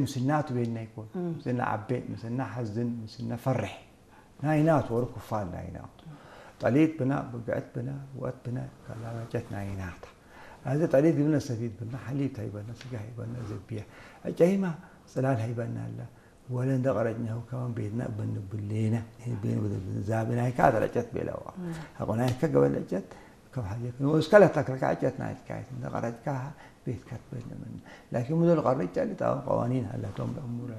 ምስና ትቤና ይኮን ምስና ዓቤ ምስና ሓዝን ምስና ፈርሕ ናይ ናቱ ወሩ ክፋል ናይ ናቱ ጠሊት ብና ብግዕት ብና ወት ብና ካላ ዕጨት ናይ ናታ። እዚ ጠሊት ግብነ ሰፊት ብና ሓሊብ ታይበና ስጋ ሃይበና ዘብያ ዕጨይማ ጽላል ሃይበና ኣላ። ወለ እንደ ቀረጭኛሁ ከማን ቤትና ብንብሌና ቤን ዛብናይካ ዕጨት ቤለዋ። ኣቆናይካ ገበል ዕጨት ከም ሓጀክ ንወስካ ለታክልካ ዕጨት ናይትካየት እንደ ቀረጭካ ቤትካ ትበልምን። ላኪን ሙደል ቀረጭ ጫሊ ጣውን ቀዋኒን ሃላቶም ለእሙር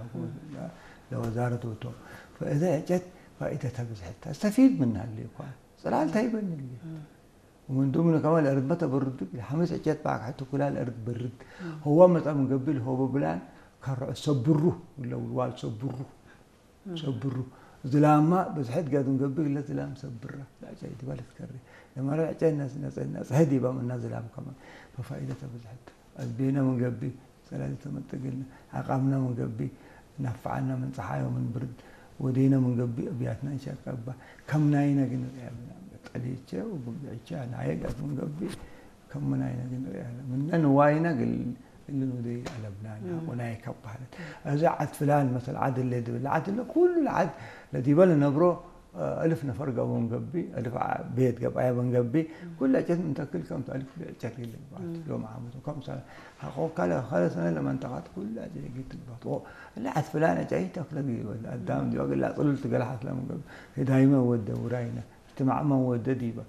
ለወዛረት ወቶም። ፈእዘ ዕጨት ፋኢደታ ብዝሕታ እስተፊድ ምን ሃለ እኳ ጽላል ታይበን። ومن ضمن كمان الأرض متى برد، الحمس عجت معك حتى كلها الأرض برد. هو متى من قبل هو ببلان كرع سبرو ولا والوال سبرو. سبرو. ዝላማ ብዝሕት ጋር ንገብር ለዝላም ሰብራ ላጫ ይትባል ትከሪ ለማራ ላጫ ነጽህድ ይባም እና ዝላም ከማን ፈፋኢደተ ብዝሕት ኣዝቤና ምንገቢ ጸላሊ ተመጠግልና ዓቃምና ምንገቢ ናፍዓና ምን ጸሓዮ ምን ብርድ ወዴና ምንገቢ እብያትና እንሻቀባ ከም ናይና ግን ጠሊቸ ብግዕቸ ናየጋት ምንገቢ ከም ናይና ግን ምነ ንዋይና ግል እልን ወደይ ኣለብና ወናይ ካብ ባህለት እዚ ዓድ ፍላን መሰል ዓድ ለ ድብል ዓድ ለ ኩሉ ዓድ ለዲበ ለነብሮ እልፍ ነፈር ገቦ ንገቢ እልፍ ቤት ገባየ በንገቢ ኩላ ጨት እንተክል ከም ታሪክ ኩሉ ዕጨት ይልባት ሎም ዓመቱ ከም ካለ ካለ ሰነ ለመንጠቃት ኩላ ጨት ይግባት እላ ዓድ ፍላን ዕጨይ ተክለ ይበል ኣዳም ዲዋ ግላ ጽሉል ትገላሓት ለምገብ ዳይመ ወደ ውራይነ እትማዕመን ወደ ዲባ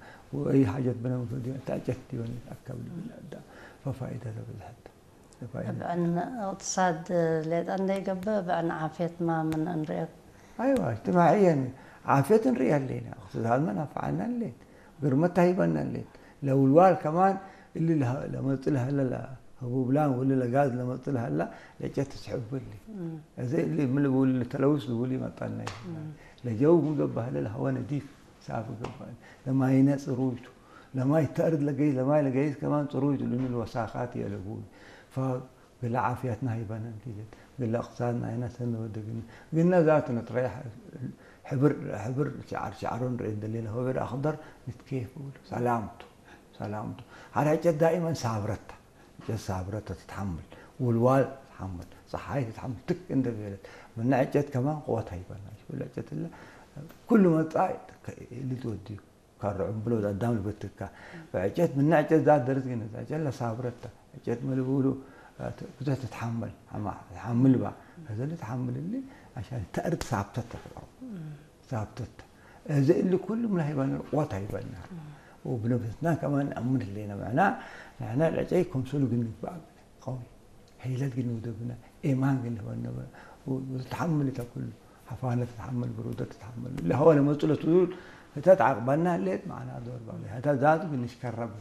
ወይ ሓጀት ብነምገብ ዲባ ታጨት ዲባ ኣካብ ልብል ኣዳም ፈፋይዳ ለብዝሐት ብዕን እቅትሳድ ሌጣ እንደይገብእ ብዕን ዓፍየት ማ ምን እንሪኦ ኣይዋ እጅትማዕየን ዓፍየት ንርኢ ኣለና እቅትሳድመ ናፍዓና ሌት ግርመት ታሂበና ሌት ለውልዋል ከማን እሊ ለመጽእ ለሀለ ህቡብላን ወሊ ለጋዝ ለመጽእ ለሀላ ለጨት ትስሕብሊ እዚ እሊ ምልብውሊ ተለውስ ዝውሊ መጣና ለጀው ምገባህለ ለሀወ ነዲፍ ሳፍ ገባል ለማይነ ጽሩይቱ ለማይ ተእርድ ለገይዝ ለማይ ለገይዝ ከማን ጽሩይቱ ልምን ወሳኻት የለቡ ግለ ዓፍያትና ሃይባና ንቲጀት ግለ እቅትሳድ ናይና ሰነ ወደግና ግና ዛቱ ነጥረያ ሕብር ሕብር ሸዓር ሸዓሮ ንርኢ እንደሌለ ሆበር ኣኽደር ንትኬፍ ብሉ ሰላምቱ ሰላምቱ ሓራጨት ዳኢመን ሳብረታ ጨት ሳብረታ ትትሓምል ውልዋል ትሓምል ፀሓይ ትትሓምል ትክ እንደበለት ምና ዕጨት ከማን ቆወት ሃይባና ብለ ዕጨት ለ ኩሉ መጣ ልትወድዩ ካርዑም ብሎ ኣዳም ልበትካ ብዕጨት ምና ዕጨት ዛት ደርዝ ግን ዕጨት ለሳብረታ ዕጨት መልብሉ ብዙሕ ትትሓመል ሓምል ባ ከዘለ ትሓምልኒ ዓሻን ተእርድ ሳብተት ተፍልዖ ሳብተት እዚ እሊ ኩሉ ምን ሃይባና ቆት ሃይባና وبنفسنا كمان نأمن لنا معنا نحن العجي كونسول ግን ይባል قوي حيلات ግን ወደብና إيمان ግን هو وتحمل تكل حفانة تتحمل برودة تتحمل اللي هو لما تقول تقول هتا تعقبنا ليت معنا دور بعض هتا ذات بنشكرب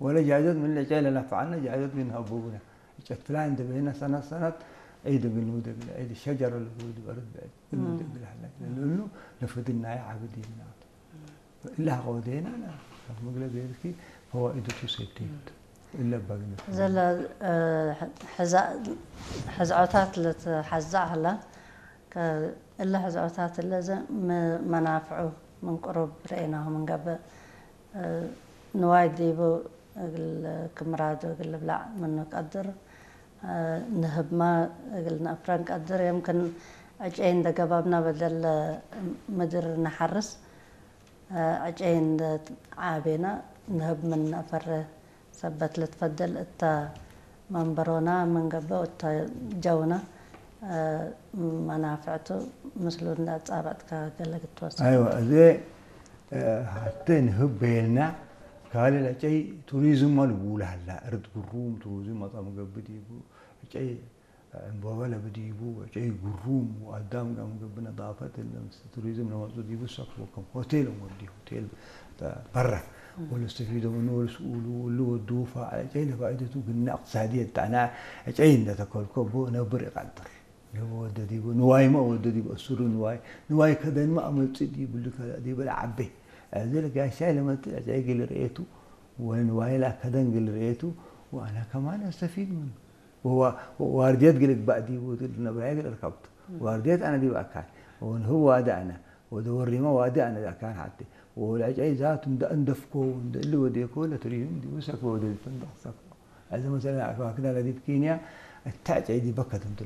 ولا جايزات من اللي جاي لنا فعلنا جايزات من هبوبنا ጨፍላ እንደበይና ሰናት ሰናት ዒድ እግል ንውደግል ዒድ ሸጀረ ልውድ በርድ ብዕድ እግል ንውደግል ሓላ ለልእኑ ለፍድናይ ዓብድ ይምናት እላ ከወደና ካብ ምግለ ገይርኪ ፈዋኢዱ ቱ ሴፍቲ እለ በግነት ዘለ ሕዝዖታት ለትሓዛእ ሃላ እለ ሕዝዖታት እለ መናፍዑ ምን ቅሩብ ርኤናሁ ምንገብእ ንዋይ ዲቡ እግል ክምራዶ እግል ብላዕ ምኑ ቀድር ንህብማ እግል ነእፍረን ቀድር የምክን ዕጨይ እንደ ገባብና በደል ምድር ንሓርስ ዕጨይ እንደ ዓቤና ንህብ ምን ነእፈረ ሰበት ልትፈደል እታ መንበሮና ምንገበ እታ ጀውና መናፍዕቱ ምስሉ እንዳጻበጥካ ገለ ክትወስድ ኣይዋ እዚ ሃብተ ንህብ በየልና ካልእ ለጨይ ቱሪዝም ልብውል ሃላ እርድ ግሩም ቱሪዝም መጣ ምገብድ ይቡ ጨይ ዕንበበ ለብዲቡ ጨይ ግሩም ወአዳም ጋም ገብነ ዳፈት ለምስ ቱሪዝም ለመጹ ዲቡ ሰክቦ ከም ሆቴል ወዲ ሆቴል በራ ወለስተፊዶ ምኑ ወለስኡሉ ወሉ ወዱ ፋ ጨይ ለፋይደቱ ግና እቅትሳድየት ጣና ጨይ እንደተከልኮ ቦ ነብር ይቀድር ለወደዲቡ ንዋይማ ወደዲቡ እሱሩ ንዋይ ንዋይ ከደንማ ኣመጽእ ዲብሉ ከላ ዲበለ ዓቤ እዚ ለጋሻይ ለመጽእ ጨይ ግል ርእየቱ ወንዋይ ላ ከደን ግል ርእየቱ ወአና ከማን አስተፊድ ምኑ ዋርድየት ግል ግባእ ዲቡ ነብራየ ግል እርከብቱ ዋርድየት አነ ዲብ አካል ወንህብ ዋደ አነ ወደ ወሪማ ዋደ አነ አካል ሓቲ ወለዐጨይ ዛቱ እንደ እንደፍኮ እንደ እሊ ወዴኮ ለቱሪዝም ዲቡ ሰክቦ ወደ ፈንደቅ ሰክቦ እዚ መሰለ አካክና ለዲብ ኬንያ እታ ጨይ ዲበ ከደምቱ